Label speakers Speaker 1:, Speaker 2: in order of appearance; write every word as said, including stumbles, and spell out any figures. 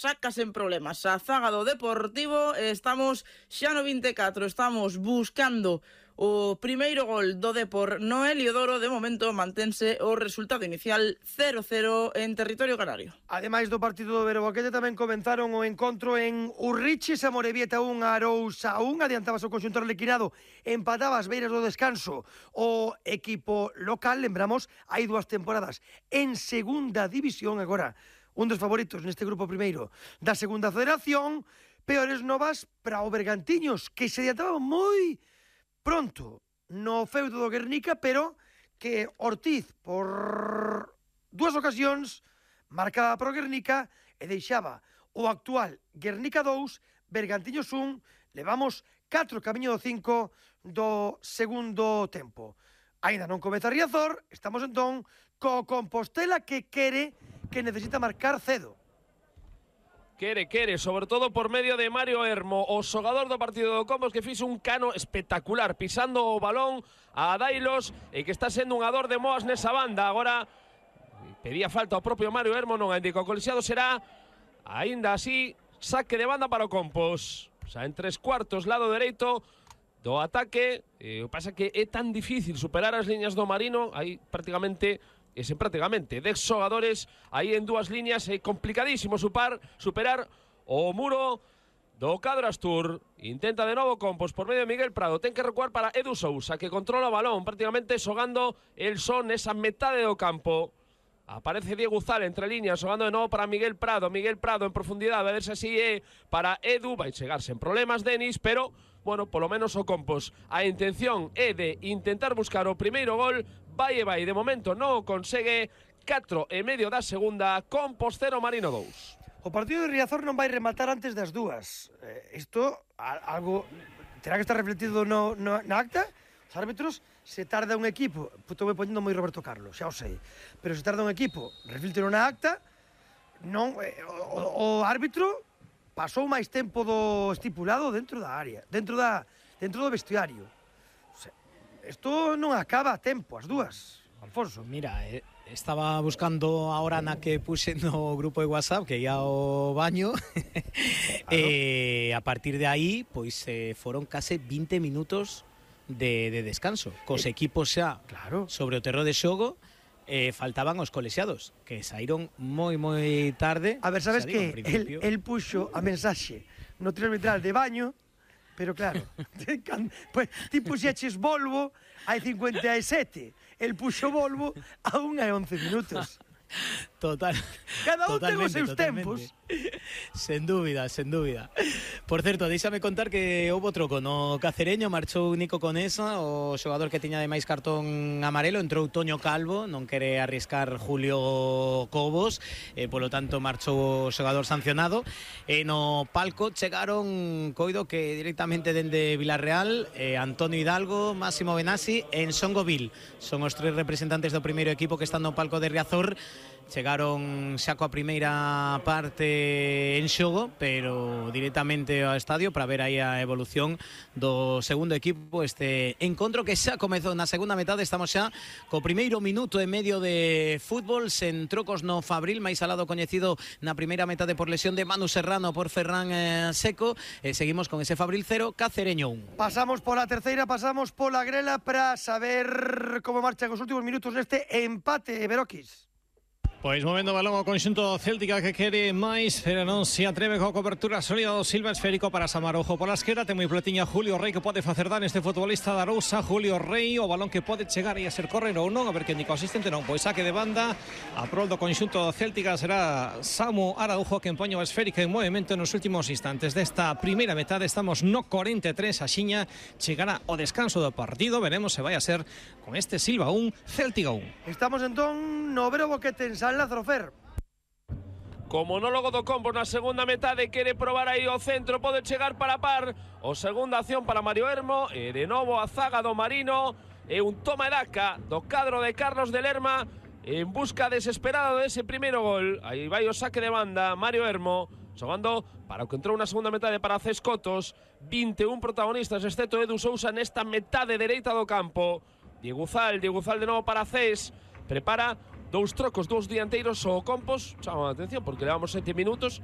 Speaker 1: Sácase en problemas a zaga do Deportivo. Estamos xa no vinte e catro, estamos buscando o primeiro gol do Depor no Heliodoro. De momento mantense o resultado inicial cero cero en territorio canario.
Speaker 2: Ademais do partido do Veroboquete, tamén comenzaron o encontro en Urrichis, a Morevieta un, Arousa un, adiantabas o conxuntor lequinado, empataba as beiras do descanso o equipo local. Lembramos, hai dúas temporadas en segunda división, agora un dos favoritos neste grupo primeiro da segunda federación. Peores novas para o Bergantiños, que se adiantaba moi pronto no feudo do Guernica, pero que Ortiz, por dúas ocasións, marcaba pro Guernica e deixaba o actual Guernica dous, Bergantiños un. Levamos catro camiño do cinco do segundo tempo. Ainda non comeza Riazor, estamos entón co Compostela, que quere, que necesita marcar cedo.
Speaker 3: Quere, quere, sobre todo por medio de Mario Hermo, o xogador do partido do Compos, que fixo un cano espectacular, pisando o balón a Dailos, e que está sendo un ador de moas nesa banda. Agora pedía falta ao propio Mario Hermo, non a indico. O colisiado será, aínda así, saque de banda para o Compos. O sea, en tres cuartos, lado dereito do ataque. Eh, o que pasa que é tan difícil superar as liñas do Marino, aí prácticamente... Ese prácticamente dez xogadores aí en dúas líneas, é complicadísimo supar, superar o muro do Cadro Astur. Intenta de novo Compos por medio de Miguel Prado, ten que recuar para Edu Sousa, que controla o balón, prácticamente xogando el son esa metade do campo. Aparece Diego Uzal entre líneas, xogando de novo para Miguel Prado, Miguel Prado en profundidade, a ver se así é para Edu, vai chegarse en problemas Denis, pero, bueno, polo menos o Compos. A intención é de intentar buscar o primeiro gol, vai e vai, de momento non o consegue. Catro e medio da segunda, Compos cero, Marino dous.
Speaker 2: O partido de Riazor non vai rematar antes das dúas. Eh, isto, algo, terá que estar refletido no, no, na acta. Os árbitros, se tarda un equipo, puto me poñendo moi Roberto Carlos, xa o sei, pero se tarda un equipo, reflítelo na acta, non, eh, o, o árbitro pasou máis tempo do estipulado dentro da área, dentro da dentro do vestiario. O sea, isto non acaba a tempo, as dúas, Alfonso.
Speaker 4: Mira, eh, estaba buscando a hora na que puse no grupo de WhatsApp que ia ao baño. Claro. E eh, a partir de aí, pois eh, foron case vinte minutos de, de descanso, cos eh, equipos xa
Speaker 2: claro,
Speaker 4: sobre o terreo de xogo. Eh, faltaban os colexiados, que saíron moi moi tarde.
Speaker 2: A ver, sabes que el, el puxo a mensaxe no trio arbitral de baño, pero claro, pues, ti puxeches Volvo hai cincuenta e sete, el puxo Volvo a unha e once minutos.
Speaker 4: Total.
Speaker 2: Cada un ten os seus tempos.
Speaker 4: Sen dúbida, sen dúbida. Por certo, deixame contar que houve troco no Cacereño, marchou Nico Conesa, o xogador que tiña ademais cartón amarelo, entrou Toño Calvo, non quere arriscar Julio Cobos, e polo tanto marchou o xogador sancionado. E no palco chegaron, coido que directamente dende Vilarreal, eh, Antonio Hidalgo, Máximo Benassi e Ensongo Vil. Son os tres representantes do primeiro equipo que están no palco de Riazor. Chegaron xa coa primeira parte en xogo, pero directamente ao estadio para ver aí a evolución do segundo equipo. Este encontro que xa comezou na segunda metade, estamos xa co primeiro minuto e medio de fútbol, sen trocos no Fabril, máis alado coñecido na primeira metade por lesión de Manu Serrano por Ferran eh, Seco, e seguimos con ese Fabril cero, Cacereño un.
Speaker 2: Pasamos pola terceira, pasamos pola grela para saber como marchan os últimos minutos neste empate, Beroquis.
Speaker 5: Pois movendo o balón ao conxunto céltica, que quere máis, pero non se atreve coa cobertura sólida do Silva. Esférico para Samarojo pola esquerda, ten moi pletiña Julio Rey, que pode facer dan este futbolista da Arousa. Julio Rey, o balón que pode chegar e a ser correr ou non, a ver que indica o asistente. Non, pois saque de banda a prol do conxunto céltica. Será Samu Araujo quen poña o esférico en movimento nos últimos instantes desta primeira metade. Estamos no cuarenta e tres, a xiña chegará o descanso do partido. Veremos se vai a ser con este Silva un, Céltica un.
Speaker 2: Estamos entón no Veroboquete en San Lázaro Fer.
Speaker 3: Co monólogo do Compos na segunda metade, quere probar aí o centro, pode chegar para par. O segunda acción para Mario Hermo, e de novo a zaga do Marino, e un toma e daca do cadro de Carlos de Lerma en busca desesperada dese primeiro gol. Aí vai o saque de banda, Mario Hermo xogando para o que entrou na segunda metade para Cés Cotos. vinte e un protagonistas, excepto Edu Sousa nesta metade dereita do campo. Diego Uzal, Diego Uzal de novo para Cés, prepara dous trocos, dous dianteiros. O Compos chama a atención porque levamos sete minutos